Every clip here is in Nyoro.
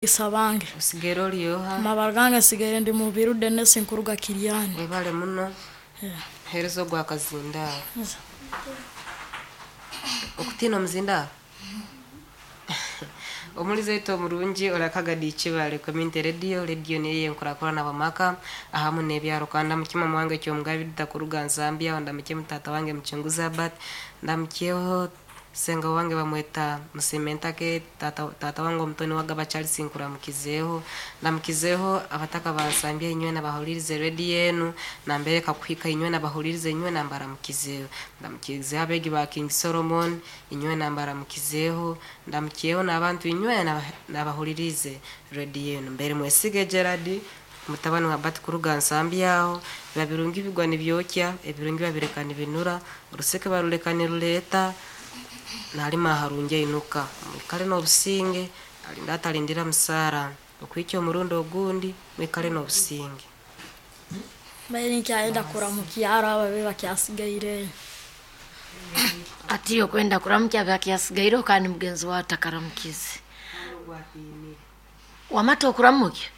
Isabange. Osigere oli oha? Amabara gange nsigaire ndi Mubiru Denis nkuruga Kiryani. Webale muno. Hereza ogwo akazindaaro. Okutiina omuzindaaro? Omulizi waitu omurungi orakaga Dikibale Community Radio, radio niyo eyenkurakurana abamaka ahamu n'ebyaro. Kandi ndamukye mama wange Kyomugabi Edita kuruga Zambia, ndamukye mutata wange Mucunguzi Albert, ndamukyeho senga wange bamweta Musimentake, tata wange omutoni wagaba Charles nkuramukizeeho, ndamukizeeho abataka bansambya inywe nabahulirize radio enu, nambere kakuhika inywe nabahulirize inywe nambaramukizeeho. Ndamukizeeho abeegi ba King Solomon, inywe nambaramukizeeho, ndamukiyeho n'abantu inywe nabahulirize radio enu. Mbere mwesige Gerard, mutabani wa Bart kuruga Nsambya aho, biba birungi bigwa nibyokya, ebirungi babireka nibinura, oruseke baruleka niruleeta, nalima harungi ainuka. Mwikale n'obusinge, alinda atalindira musaara, okuhikya omurundi ogundi, mwikale n'obusinge. Mbaire nkyayenda kuramukyaro abo abe bakyasigaireyo. Ati okwenda kuramukya bakyasigaire kandi mugenzi wawe atakaramukize. Wamata okuramukya?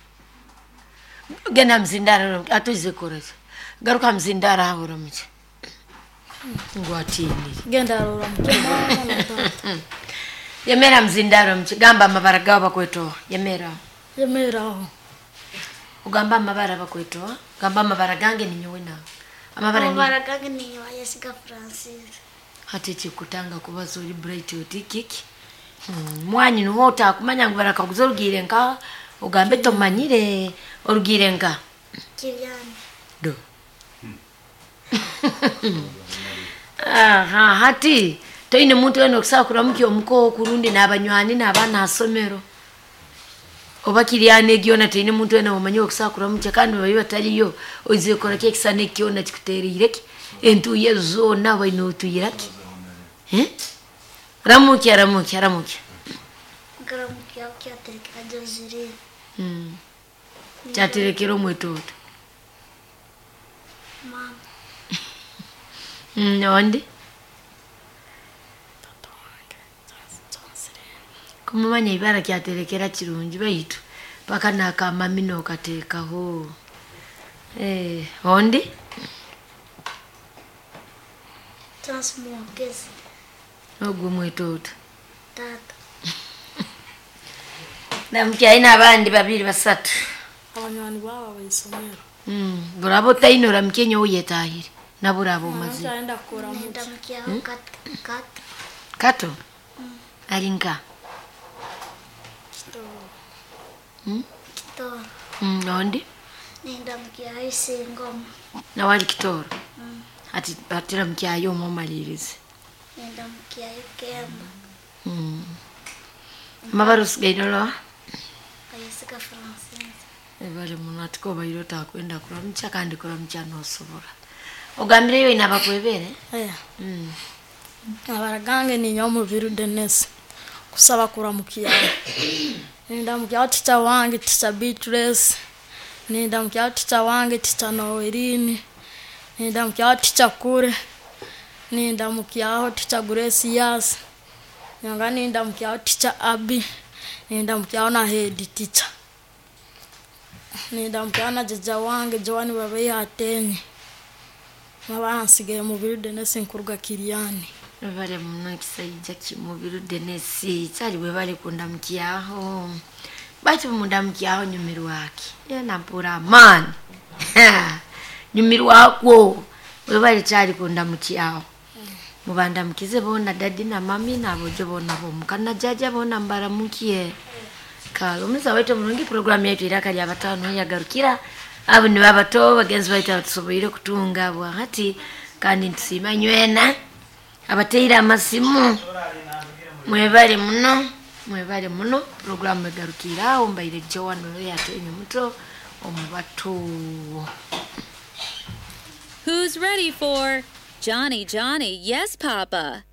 Genda muzindaro atuize koreki. Garuka muzindaro aho oramukye. Ngu atiinire. Genda oramukye mama na tata. Yemera muzindaro omuki gamba amabara gawe bakwetoa. Yemera. Yemera aho. Ogamba amabara bakwetoa. Gamba amabara gange ninyowe nawe. Amabara ni Amabara gange ni Wayesiga Francis. Hati ekikutanga kubaza ori bright oti kiki? Mwanyi nuho otakumanya ngu barakaguza orugiire nka ogambe tomanyire orugiire nka Kiryani. Do. Aha, hati toine muntu wena okusobola kuramukya omuka oku rundi n'abanywani n'abaana ha somero. Oba Kiryani egi yoona toine muntu wena womanyire okusobola kuramukya kandi babaire batariyo oizire kukora ki ekisana eki kyona kikuteriire ki? Entuuyo ezi zoona obaire notuuyira ki? Ramukya, ramukya, ramukya. Nkaramukya kyaterekera Joseline. Kyaterekera omwetoto. Mama. Ondi? Tata wange Joseline. Kumumanya ibara kyaterekera kirungi baitu paka n'akamami nokateekaho. Ondi? Chance Mwogezi. Ogwo omwetoto. Tata. Ndamukya aine abandi babiri basatu. Abanywani babo abaisomero. Buraba otaine oramukye nyowe oyetahire nabo oraba omazire. Nkyayenda kuramukya. Ndamukyaho Kato. Kato. Kato? Ali nka? Kitoro. Kitoro. Ondi? Nindamukyaho Isingoma. Nawe ali Kitoro? Hati hati ramukyayo omwe omalirize. Nindamukyayo Kemba. Amabara osigaire oroha? Wayesiga Francis. Ebale muno ati kobaire otakwenda kuramukya kandi kuramukya nosobora. Ogambireyo oine abakwebere? Amabara gange ninyowe Mubiru Denis. Kusaba kuramukya. Nindamukyaho teacher wange teacher Beatrice. Nindamukyaho teacher wange teacher Noeline. Nindamukyaho teacher Kure. Nindamukyaho teacher Gracious. Nyonga nindamukyaho teacher Abby. Nindamukyaho na head teacher. Nindamukyaho na jjajja wange Joan Babeiha Atenyi. Amabara nsigaire Mubiru Denis nkuruga Kiryani. Webale muno ekisaija Kimubiru Denis kyali webale kundamukyaho. Baitu mundamukyaho nyumirwaki? Yena mpura amaani. Nyumirwakwo. Webale kyali kundamukyaho. Mubandamukize boona dadi na mami n'abojo boona bomuka na jjajja boona mbaramukie. Kale omuliza waitu omurungi programu yaitu Iraka lya Batano yagarukira. Abo nibo abato bagenzi baitu abatusoboire kutunga bwa hati kandi nitusiima nywena abateire amasimu. Mwebale muno, mwebale muno. Programu egarukira aho mbaire Joan Oyo Atenyi muto omubato. Who's ready for Johnny Johnny Yes Papa?